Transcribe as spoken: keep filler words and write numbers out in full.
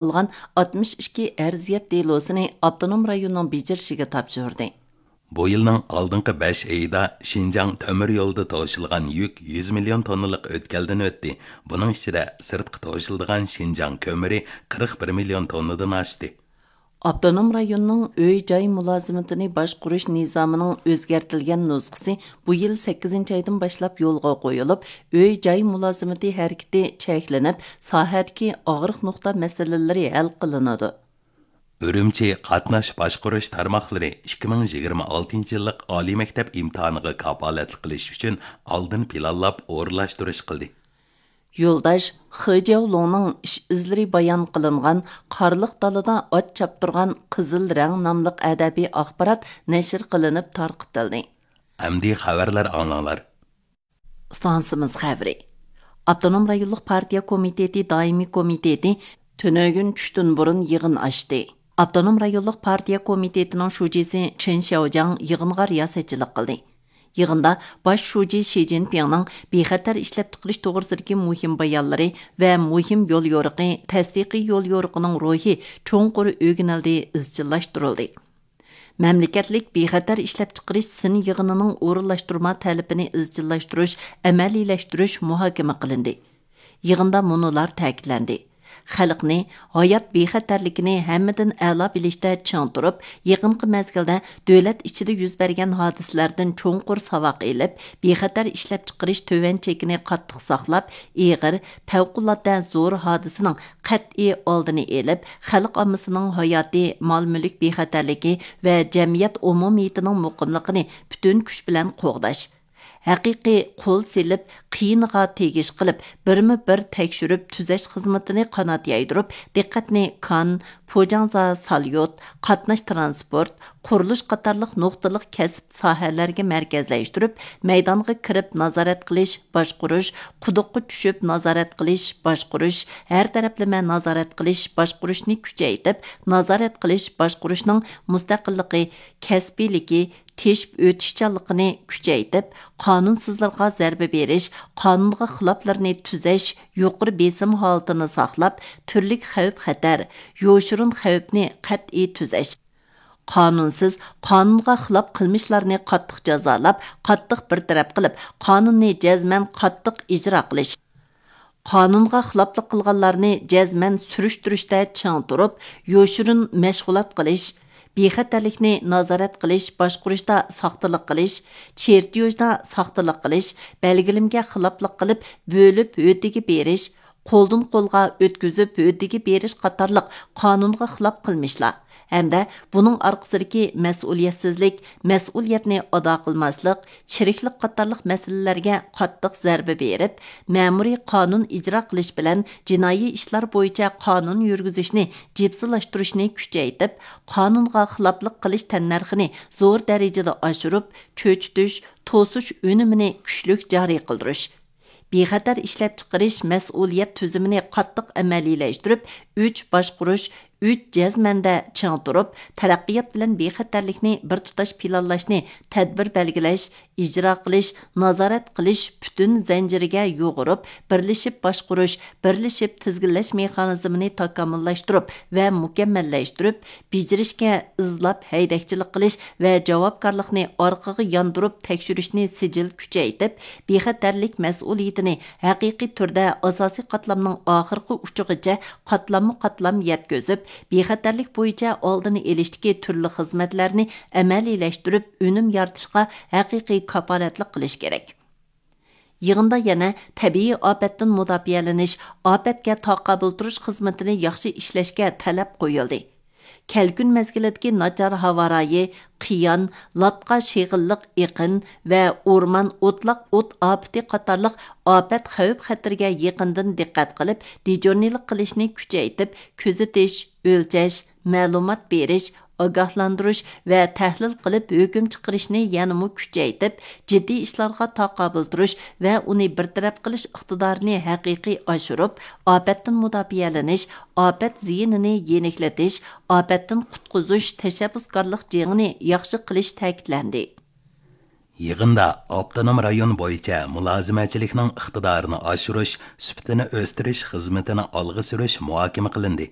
قىلغان ئاتمىش ئىككى ئەرزىيەت دېلوسىنى ئاپتونوم رايوننىڭ بېجىرىشىگە تاپشۇردى. بۇ يىلنىڭ ئالدىنقى بەش ئېيىدا شىنجاڭ تۆمۈر يولىدا توشۇلغان يۈك يۈز مىليون توننىلىق ئۆتكەلدىن ئۆتتى. بۇنىڭ ئىچىدە سىرتقا توشۇلىدىغان شىنجاڭ كۆمۈرى قىرىق بىر مىليون توننىدىن ئاشتى. ئاپتونوم رايوننىڭ ئۆي-جاي مۇلازىمىتىنى باشقۇرۇش نىزامىنىڭ ئۆزگەرتىلگەن نۇسخىسى بۇ يىل سەككىزىنچى ئايدىن باشلاپ يولغا قويۇلۇپ، ئۆي-جاي مۇلازىمىتى ھەرىكىتى چەكلىنىپ، ساھەدىكى ئاغرىق نۇقتا مەسىلىلىرى ھەل قىلىنىدۇ. ئۈرۈمچى قاتناش باشقۇرۇش تارماقلىرى ئىككى مىڭ يىگىرمە ئالتىنچى يىللىق ئالىي مەكتەپ ئىمتىھانىغا كاپالەتلىك قىلىش ئۈچۈن ئالدىن پىلانلاپ ئورۇنلاشتۇرۇش قىلدى. يولداش خې جياۋلۇڭنىڭ ئىش ئىزلىرى بايان قىلىنغان قارلىق دالىدا ئات چاپتۇرغان قىزىل رەڭ ناملىق ئەدەبىي ئاخبارات نەشر قىلىنىپ تارقىتىلدى. ئەمدى خەۋەرلەر ئاڭلاڭلار. ئىستانسىمىز خەۋىرى. ئاپتونوم رايونلۇق پارتىيە كومىتېتى دائىمىي كومىتېتى تۈنۈگۈن چۈشتىن بۇرۇن يىغىن ئاچتى. ئاپتونوم رايونلۇق پارتىيە كومىتېتىنىڭ شۇجىسى چېن شياۋجياڭ يىغىنغا رىياسەتچىلىك قىلدى. يىغىندا باش شۇجى شى جىنپىڭنىڭ بىخەتەر ئىشلەپچىقىرىش توغرىسىدىكى مۇھىم بايانلىرى ۋە مۇھىم يوليورۇقى، تەستىقىي يوليورۇقىنىڭ روھى چوڭقۇر ئۆگىنىلدى، ئىزچىللاشتۇرۇلدى. مەملىكەتلىك بىخەتەر ئىشلەپچىقىرىش سىن يىغىنىنىڭ ئورۇنلاشتۇرما تەلىپىنى ئىزچىللاشتۇرۇش، ئەمەلىيلەشتۈرۈش مۇھاكىمە قىلىندى. يىغىندا مۇنۇلار تەكىتلەندى: خەلقنى، ھايات بىخەتەرلىكىنى ھەممىدىن ئەلا بىلىشتە چىڭ تۇرۇپ، يېقىنقى مەزگىلدە دۆلەت ئىچىدە يۈز بەرگەن ھادىسىلەردىن چوڭقۇر ساۋاق ئېلىپ، بىخەتەر ئىشلەپچىقىرىش تۆۋەن چېكىنى قاتتىق ساقلاپ، ئېغىر، پەۋقۇلئاددە زور ھادىسىنىڭ قەتئىي ئالدىنى ئېلىپ، خەلق ئاممىسىنىڭ ھاياتى، مال-مۈلۈك بىخەتەرلىكى ۋە جەمئىيەت ئومۇمىيىتىنىڭ مۇقىملىقىنى پۈتۈن كۈچ بىلەن قوغداش. ھەقىقىي قول سېلىپ، قىيىنىغا تېگىش قىلىپ، بىرمۇ بىر تەكشۈرۈپ تۈزەش خىزمىتىنى قانات يايدۇرۇپ، دىققەتنى كان، پوجاڭزا ساليوت، قاتناش ترانسپورت، قۇرۇلۇش قاتارلىق نۇقتىلىق كەسىپ ساھەلەرگە مەركەزلەشتۈرۈپ، مەيدانغا كىرىپ نازارەت قىلىش، باشقۇرۇش، قۇدۇققا چۈشۈپ نازارەت قىلىش، باشقۇرۇش، ھەر تەرەپلىمە نازارەت قىلىش، باشقۇرۇشنى كۈچەيتىپ، نازارەت قىلىش، باشقۇرۇشنىڭ مۇستەقىللىقى، كەسپىيلىكى، تېشىپ ئۆتۈشچانلىقىنى كۈچەيتىپ، قانۇنسىزلارغا زەربە بېرىش، قانۇنغا خىلاپلىرىنى تۈزەش، يۇقىرى بېسىم ھالىتىنى ساقلاپ، تۈرلۈك خەۋپ-خەتەر، يوشۇرۇن خەۋپنى قەتئىي تۈزەش. قانۇنسىز، قانۇنغا خىلاپ قىلمىشلارنى قاتتىق جازالاپ، قاتتىق بىر تەرەپ قىلىپ، قانۇننى جەزمەن قاتتىق ئىجرا قىلىش. قانۇنغا خىلاپلىق قىلغانلارنى جەزمەن سۈرۈشتۈرۈشتە چىڭ تۇرۇپ، يوشۇرۇن مەشغۇلات قىلىش، بىخەتەرلىكنى نازارەت قىلىش، باشقۇرۇشتا ساختىلىق قىلىش، چېرتيوژدا ساختىلىق قىلىش، بەلگىلىمىگە خىلاپلىق قىلىپ، بۆلۈپ ھۆددىگە بېرىش، قولدىن قولغا ئۆتكۈزۈپ ھۆددىگە بېرىش قاتارلىق قانۇنغا خىلاپ قىلمىشلار ھەمدە بۇنىڭ ئارقىسىدىكى مەسئۇلىيەتسىزلىك، مەسئۇلىيەتنى ئادا قىلماسلىق، چىرىكلىك قاتارلىق مەسىلىلەرگە قاتتىق زەربە بېرىپ، مەمۇرىي قانۇن ئىجرا قىلىش بىلەن جىنايى ئىشلار بويىچە قانۇن يۈرگۈزۈشنى جىپسىلاشتۇرۇشنى كۈچەيتىپ، قانۇنغا خىلاپلىق قىلىش تەننەرخىنى زور دەرىجىدە ئاشۇرۇپ، چۆچۈتۈش، توسۇش ئۈنۈمىنى كۈچلۈك جارى قىلدۇرۇش. بىخەتەر ئىشلەپچىقىرىش مەسئۇلىيەت تۈزۈمىنى قاتتىق ئەمەلىيلەشتۈرۈپ، ئۈچ باشقۇرۇش، ئۈچ جەزمەندە چىڭ تۇرۇپ، تەرەققىيات بىلەن بىخەتەرلىكنى بىر تۇتاش پىلانلاشنى تەدبىر بەلگىلەش، ئىجرا قىلىش، نازارەت قىلىش پۈتۈن زەنجىرىگە يۇغۇرۇپ، بىرلىشىپ باشقۇرۇش، بىرلىشىپ تىزگىنلەش مېخانىزمىنى تاكامۇللاشتۇرۇپ ۋە مۇكەممەللەشتۈرۈپ، بېجىرىشكە ئىزلاپ ھەيدەكچىلىك قىلىش ۋە جاۋابكارلىقنى ئارقىغا ياندۇرۇپ تەكشۈرۈشنى سىجىل كۈچەيتىپ، بىخەتەرلىك مەسئۇلىيىتىنى ھەقىقىي تۈردە ئاساسىي قاتلامنىڭ ئاخىرقى ئۇچىغىچە قاتلاممۇ قاتلام يەتكۈزۈپ، بىخەتەرلىك بويىچە ئالدىنى ئېلىشتىكى تۈرلۈك خىزمەتلەرنى ئەمەلىيلەشتۈرۈپ، ئۈنۈم يارىتىشقا ھەقىقىي كاپالەتلىك قىلىش كېرەك. يىغىندا يەنە تەبىئىي ئاپەتتىن مۇداپىئەلىنىش، ئاپەتكە تاقابىل تۇرۇش خىزمىتىنى ياخشى ئىشلەشكە تەلەپ قويۇلدى. كەلكۈن مەزگىلىدىكى ناچار ھاۋا رايى، قىيان، لاتقا شېغىللىق ئېقىن ۋە ئورمان ئوتلاق ئوت ئاپىتى قاتارلىق ئاپەت خەۋپ خەتىرىگە يېقىندىن دىققەت قىلىپ، دىجورنىلىق قىلىشنى كۈچەيتىپ، كۆزىتىش، ئۆلچەش، مەلۇمات بېرىش، ئاگاھلاندۇرۇش ۋە تەھلىل قىلىپ ھۆكۈم چىقىرىشنى يەنىمۇ كۈچەيتىپ، جىددىي ئىشلارغا تاقابىل تۇرۇش ۋە ئۇنى بىر تەرەپ قىلىش ئىقتىدارىنى ھەقىقىي ئاشۇرۇپ، ئاپەتتىن مۇداپىئەلىنىش، ئاپەت زىيىنىنى يېنىكلىتىش، ئاپەتتىن قۇتقۇزۇش تەشەببۇسكارلىق جېڭىنى ياخشى قىلىش تەكىتلەندى. يىغىندا ئاپتونوم رايون بويىچە مۇلازىمەتچىلىكنىڭ ئىقتىدارىنى ئاشۇرۇش، سۈپىتىنى ئۆستۈرۈش خىزمىتىنى ئالغا سۈرۈش مۇھاكىمە قىلىندى.